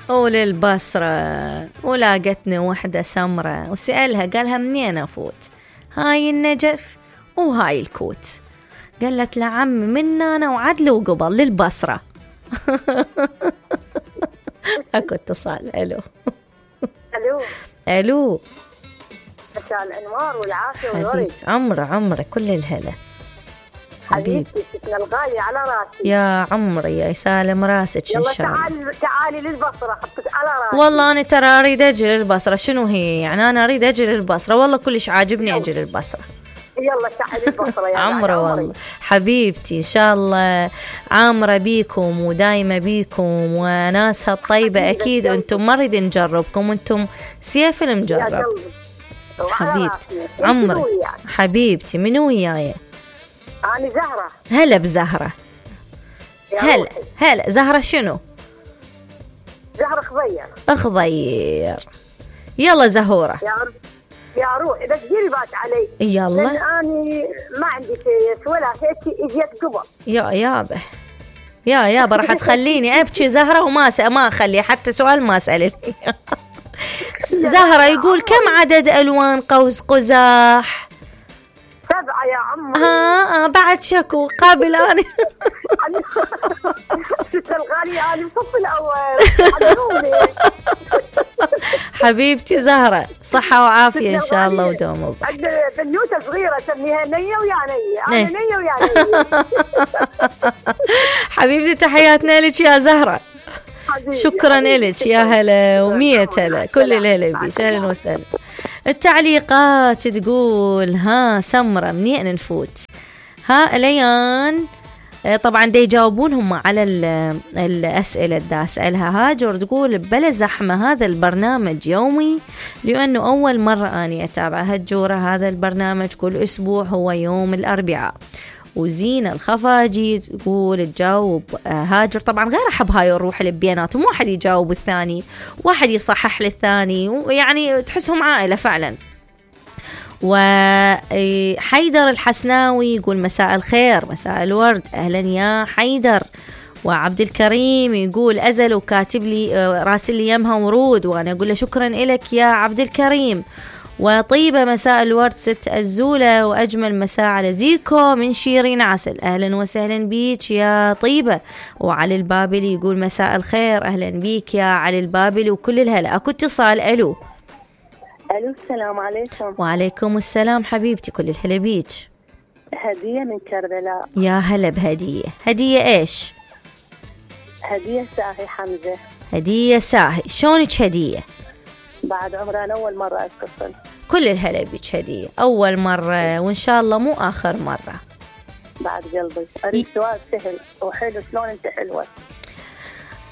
وللبصرة ولاقتني وحدة سمرة وسألها قالها منين أفوت؟ هاي النجف وهاي الكوت. قالت لعم من أنا وعدل وقبل للبصرة. أكو اتصال. ألو ألو. مساء الأنوار والعافية والورد. عمرة كل الهلا حبيبتي ستنا الغالية على راسي. يا عمري يا سالم راسك إن شاء الله. يلا تعالي للبصرة حطك على راسي. والله أنا ترى أريد أجي للبصرة. شنو هي يعني؟ أنا أريد أجي للبصرة والله كلش عاجبني أجي للبصرة. يلا تعالي للبصرة يا عمرة والله حبيبتي إن شاء الله عامرة بيكم ودايمة بيكم وناسها الطيبة. أكيد أنتم ما نريد نجربكم، أنتم سيف المجرب. حبيبتي عمري حبيبتي. منو وياي؟ أنا زهرة. هلا بزهرة. هلا زهرة. شنو؟ زهرة خضير. يلا زهورة يا روح إذا تجيري بات علي. يلا لأن أنا ما عندي شيء ولا هيك إجيت قبل. يا يابا راح تخليني أبكي زهرة وما أخلي حتى سؤال ما أسأل. زهرة يقول كم عدد ألوان قوس قزح؟ 7 يا عمي. بعد شكو قابل أنا. ست الغالية أنا بصف الأول. حبيبتي زهرة صحة وعافية إن شاء الله ودوم. عندنا بنوتة صغيرة سميها نية ويا نية. أنا نية ويا نية. حبيبتي تحياتنا لك يا زهرة. شكرا لك يا هلا ومية هلا كل الهلا بيك. أهلا وسهلا. التعليقات تقول ها سمرة منين نفوت؟ ها ليان طبعا دي يجاوبونهم على الأسئلة اللي أسألها. هاجر تقول بلا زحمة هذا البرنامج يومي لأنه أول مرة أني أتابع هالجورة. هذا البرنامج كل أسبوع هو يوم الأربعاء. وزينة الخفاجي تقول تجاوب هاجر. طبعا غير أحب هاي الروح اللي بيناتهم، واحد يجاوب الثاني واحد يصحح للثاني ويعني تحسهم عائلة فعلا. وحيدر الحسناوي يقول مساء الخير مساء الورد. أهلا يا حيدر. وعبد الكريم يقول أزل وكاتب لي راسل لي يمها ورود وأنا أقول له شكرا لك يا عبد الكريم. وطيبة مساء الورد ست الزولة وأجمل مساء على زيكو من شيرين عسل. أهلا وسهلا بيك يا طيبة. وعلي البابلي يقول مساء الخير. أهلا بيك يا علي البابلي وكل الهلا. أكو اتصال. ألو السلام عليكم. وعليكم السلام حبيبتي كل الهلا بيك. هدية من كربلاء. يا هلا بهدية. هدية إيش؟ هدية ساهي حمزة. هدية ساهي. شونك هدية؟ بعد عمري أنا أول مرة أتصل. كل الهلا بيك هدية أول مرة وإن شاء الله مو آخر مرة. بعد قلبي أريد سؤال سهل وحلو. شلون أنت حلوة؟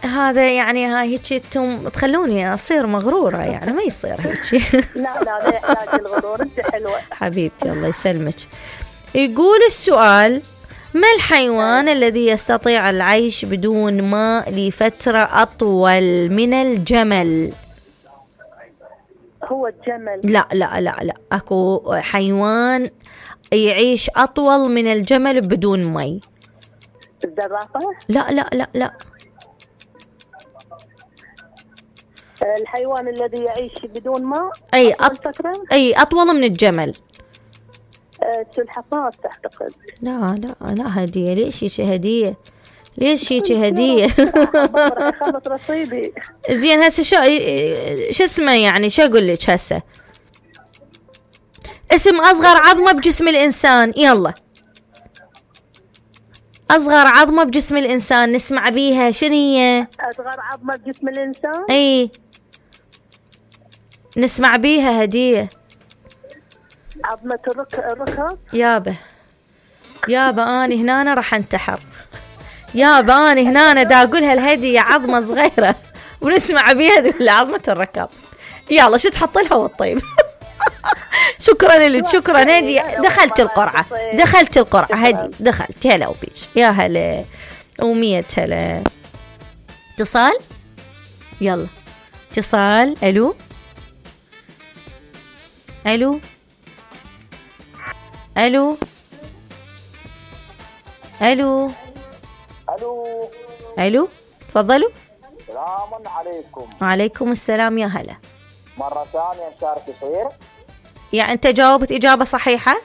هذا يعني هاي هيك انتم تخلوني اصير مغروره يعني ما يصير هيك. لا يحتاج الغرور. انت حلوه حبيبتي الله يسلمك. يقول السؤال ما الحيوان الذي يستطيع العيش بدون ماء لفتره اطول من الجمل؟ هو الجمل. لا اكو حيوان يعيش اطول من الجمل بدون مي. الزرافه. لا الحيوان الذي يعيش بدون ماء. أي أطول من الجمل. السلحفاة تعتقد. لا هدية. ليش هدية؟ ليش هدية؟ خلط رصيدي. زين هسه شو اسمه يعني شو أقول لك هسه؟ اسم أصغر عظمة بجسم الإنسان. يلا أصغر عظمة بجسم الإنسان نسمع بيها شنية؟ أصغر عظمة بجسم الإنسان. أي نسمع بيها هدية. عظمة الركب. يابا أنا هنا راح انتحر. يابا أنا هنا دا أقولها الهدية عظمة صغيرة ونسمع بيها تقول عظمة الركب. يلا شو تحط لها والطيب. شكرا لك. شكرا هدية. دخلت القرعة هدي دخلت. هلا وبيش يا هلا ومية هلا. اتصال. يلا اتصال. ألو تفضلوا. السلام عليكم. وعليكم السلام يا هلا. مرة ثانية نشارك يصير؟ يعني أنت جاوبت إجابة صحيحة؟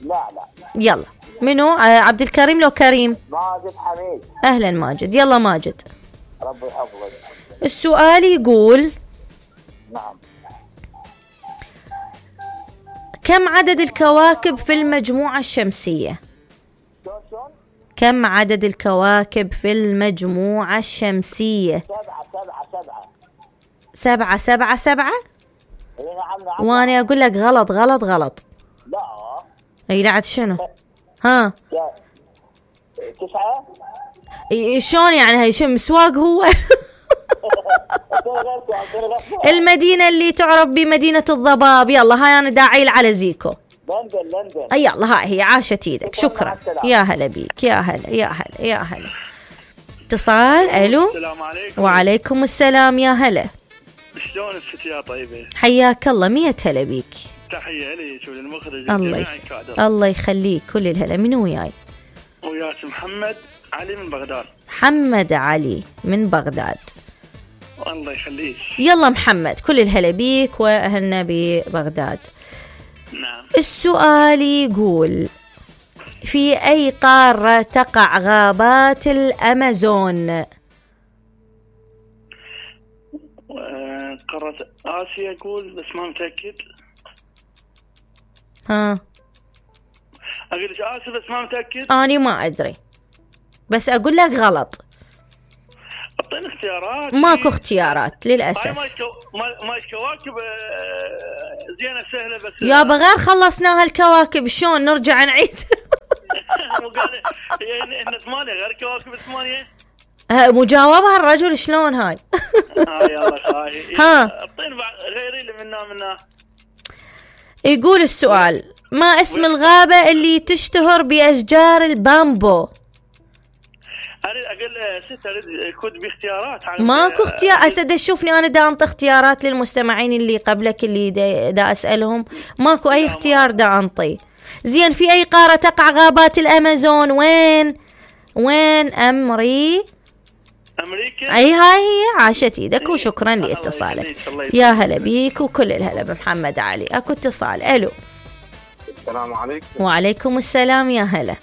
لا. يلا منو؟ عبد الكريم لو كريم؟ ماجد حميد. أهلا ماجد. يلا ماجد. ربي يحفظك. السؤال يقول نعم. كم عدد الكواكب في المجموعة الشمسية؟ شلون؟ كم عدد الكواكب في المجموعة الشمسية؟ 7. 7. اي نعم. وانا اقول لك غلط. لا. اي لا شنو؟ ها 9. شلون يعني؟ هي شو مسواق هو؟ المدينة اللي تعرف بمدينة الضباب. يلا هاي انا داعي على زيكو. لندن. يلا هاي هي. عاشت ايدك. شكرا. يا هلا بيك. يا هلا. اتصال. الو. السلام عليكم. وعليكم السلام يا هلا. شلون الست يا طيبة؟ حياك الله. 100 هلا بيك. تحية لي شو المخرج. الله يخليك. كل الهلا. منو وياي؟ وياك محمد علي من بغداد. محمد علي من بغداد. الله يخليك. يلا محمد كل الهلا بيك واهلنا ببغداد. نعم. السؤال يقول في اي قارة تقع غابات الامازون؟ قارة آسيا أقول بس ما متأكد. ها أقول لك آسيا بس ما متأكد. أنا ما أدري بس أقول لك غلط. أعطيني اختيارات. ماكو اختيارات للأسف. ما الكواكب زينة سهلة بس. يابا غير خلصناها الكواكب شلون نرجع نعيد؟ إحنا 8 غير كواكب 8. مجاوبها الرجل شلون هاي؟ يلا خاي. ها أعطيني غيري اللي منا. يقول السؤال ما اسم الغابة اللي تشتهر بأشجار البامبو؟ أقول ست أريد كود باختيارات. ماكو اختيار. أسد شوفني أنا دا أنطي اختيارات للمستمعين اللي قبلك اللي دا أسألهم. ماكو أي اختيار دا أنطي. زين في أي قارة تقع غابات الأمازون؟ وين أمريكا. أي هاي هي. عاشت إيدك وشكرا لاتصالك. يا هلا بيك وكل الهلا بمحمد علي. أكو اتصال. ألو. السلام عليكم. وعليكم السلام يا هلا.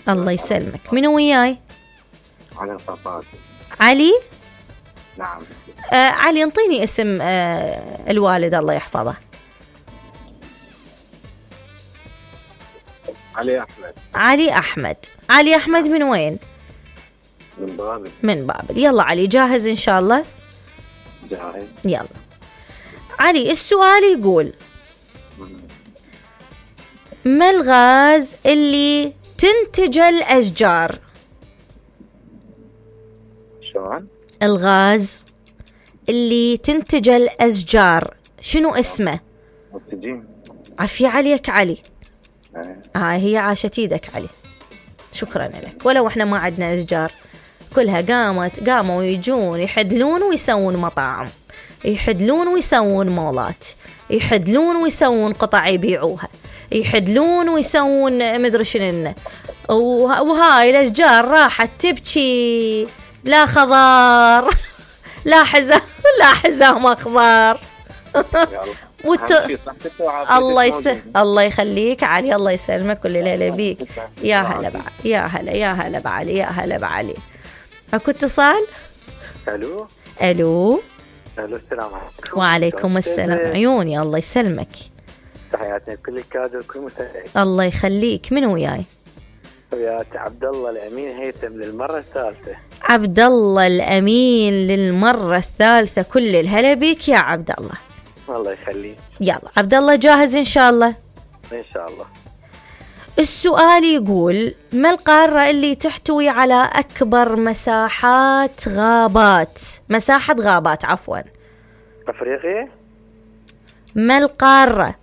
الله يسلمك. منو وياي؟ علي صفات. علي. نعم. علي انطيني اسم الوالد الله يحفظه. علي أحمد من وين؟ من بابل. يلا علي جاهز إن شاء الله؟ جاهز. يلا علي السؤال يقول ما الغاز اللي تنتج الأشجار؟ شلون؟ الغاز اللي تنتج الأشجار شنو اسمه؟ أكسجين. عافية عليك علي. هي عاشت ايدك علي. شكرا لك. ولو احنا ما عندنا أشجار كلها قاموا يجون يحدلون ويسوون مطاعم، يحدلون ويسوون مولات، يحدلون ويسوون قطع يبيعوها، يحدلون ويسوون مدري شنو. وهاي الأشجار راحت تبكي لا خضار لا حزام أخضر. الله يخليك علي. الله يسلمك. كل ليلة بيك. يا هلا بعلي. يا هلا بعلي. اكو اتصال. الو. السلام عليكم. وعليكم السلام. عيوني. الله يسلمك. تحياتي لكل الكادر وكل المستمعين. الله يخليك. من وياي؟ وياك عبد الله الأمين هيثم للمرة الثالثة. عبد الله الأمين للمرة الثالثة. كل الهلا بيك يا عبد الله. الله يخليك. يلا عبد الله جاهز إن شاء الله؟ إن شاء الله. السؤال يقول ما القارة اللي تحتوي على أكبر مساحة غابات عفوا؟ أفريقيا. ما القارة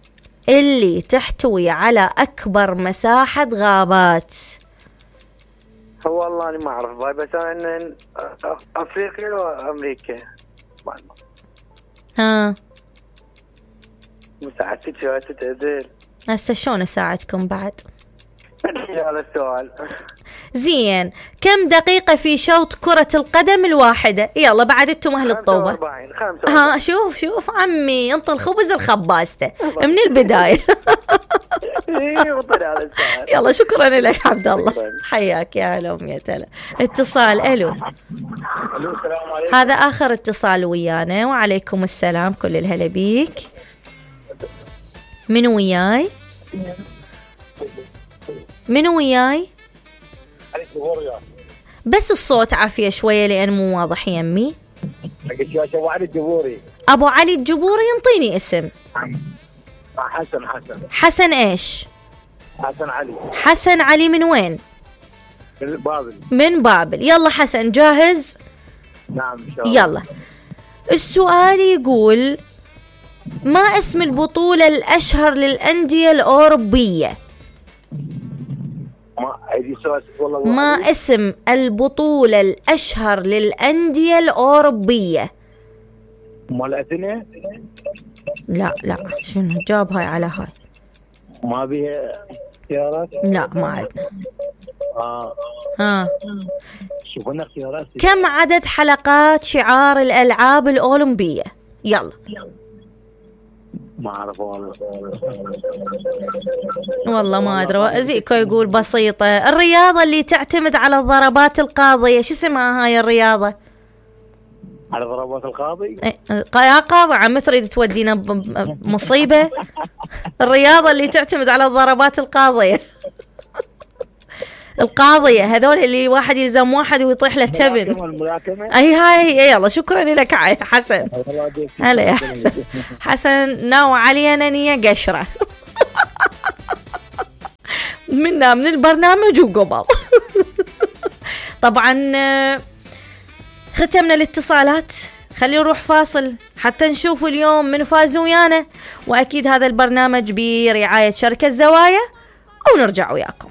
اللي تحتوي على أكبر مساحة غابات؟ هو والله أنا ما أعرف باي، بس أنا أفريقيا وأمريكا. ها مساعدتك شو تقدر؟ هسه شلون أساعدكم بعد؟ على السؤال. زين. كم دقيقة في شوط كرة القدم الواحدة؟ يلا بعد انتم اهل الطوبة. 45. ها شوف عمي انطي الخبز الخبازته من البداية. يلا شكرا لك عبد الله، حياك يا هلا ومية هلا. اتصال. الو هذا اخر اتصال ويانا. وعليكم السلام، كل الهلا بيك. منو وياي؟ بس الصوت عافية شوية لأن مو واضح يمي. أبو علي الجبوري. ينطيني اسم. حسن إيش؟ حسن علي من وين؟ من بابل. يلا حسن جاهز؟ نعم إن شاء الله. يلا السؤال يقول: ما اسم البطولة الأشهر للأندية الأوروبية؟ ما اسم البطولة الأشهر للأندية الأوروبية؟ لا شنو جاب هاي على هاي؟ ما بيها اختيارات؟ لا ما عندنا. ها شوفنا اختيارات. كم عدد حلقات شعار الألعاب الأولمبية؟ يلا. ما أعرف والله ما أدري. زيكو يقول بسيطة. الرياضة اللي تعتمد على الضربات القاضية شو اسمها هاي الرياضة؟ على ضربات القاضي؟ يا قاضي عم تريد تودينا مصيبة. الرياضة اللي تعتمد على الضربات القاضية. القاضية هذول اللي واحد يلزم واحد ويطيح له تبن. اي هاي. يلا شكرا لك حسن. هلا يا حسن. حسن ناوي علينا نية قشرة منا من البرنامج وقبل. طبعا ختمنا الاتصالات. خلينا نروح فاصل حتى نشوف اليوم من فاز ويانا، واكيد هذا البرنامج برعاية شركة زوايا، ونرجع وياكم.